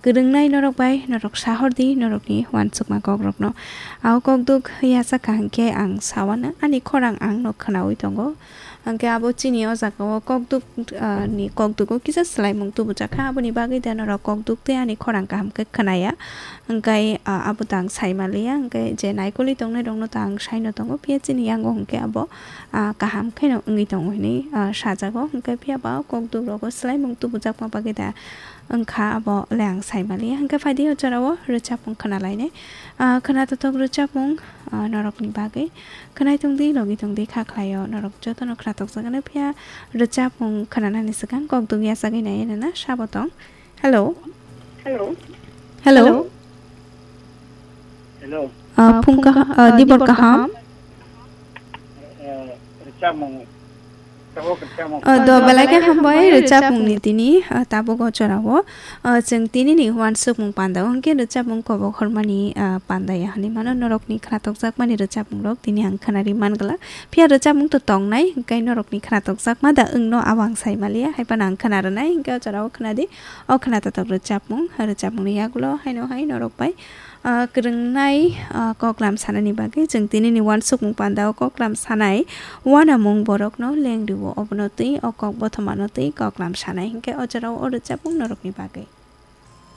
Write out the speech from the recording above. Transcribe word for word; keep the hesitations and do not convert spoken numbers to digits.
Kwrwngnai norok bai norok sahor di norokni uansukma kokrokno. Ao kokduk yasa kaham khe ang sawano, ani khorang ang no khwnawi tongo. Hwnkhe abo chini o jaga o kokduk, ah, ni kokduk o kisa swlaimung tubujak kha, aboni bagwi da norok kokduk tei ani khorang kaham khe khwnaya. Hwnkhe, ah, abo da ang sai manliya, hwnkhe je naikolwi tongnai rokno da ang saino tongo, phiya chini yango hwnkhe abo, ah, kaham kheno wngwi tongo hinwi, ah, sajago. Hwnkhe phiya ba kokduk rogo swlaimung tubujakma bagwi da wngkha, abo le ang sai manliya. Hwnkhe phaidi o jorao rwchapmung khwnalainai. Ah, khwnatotok rwchapmung, ah, norokni bagwi. Khwnai tongdi, logi tongdi, kha khlaio. Norok jotono khwnatokjakgano phiya rwchapmung khwnanani swkang kokduk yachagwi nai nana sabo tong. Hello. Hello. Hello. Hello. Ah, phung kaha-, ah, dibor kaham. Eh, rwchapmung. Tabuk rwchapmung. Ah, do belai khe hambai rwchapmungni tini, ah, tabuk o jorao. Ah, chwng tinini uansukmung panda o hwnkhe rwchapmung kobok hormani, ah, panda ya hinwi mano norokni khwnatokjakmani rwchapmungrok tini ang khwnari mangla. Phiya rwchapmung to tongnai, hwnkhe norokni khwnatokjakma da wngno abo ang sai manliya, hai phano ang khwna rwnai, hwnkhe o jorao khwnadi. O khwnatotok rwchapmung, rwchapmungni yagulo haino hai norok bai, ah, kwrwngnai, ah, koklam sanani bagwi chwng tinini uansukmung panda o koklam sanai uanamung borokno lengrio, obono twi o kok bothomano twi koklam sanai hwnkhe o jorao o rwchapmung norokni bagwi.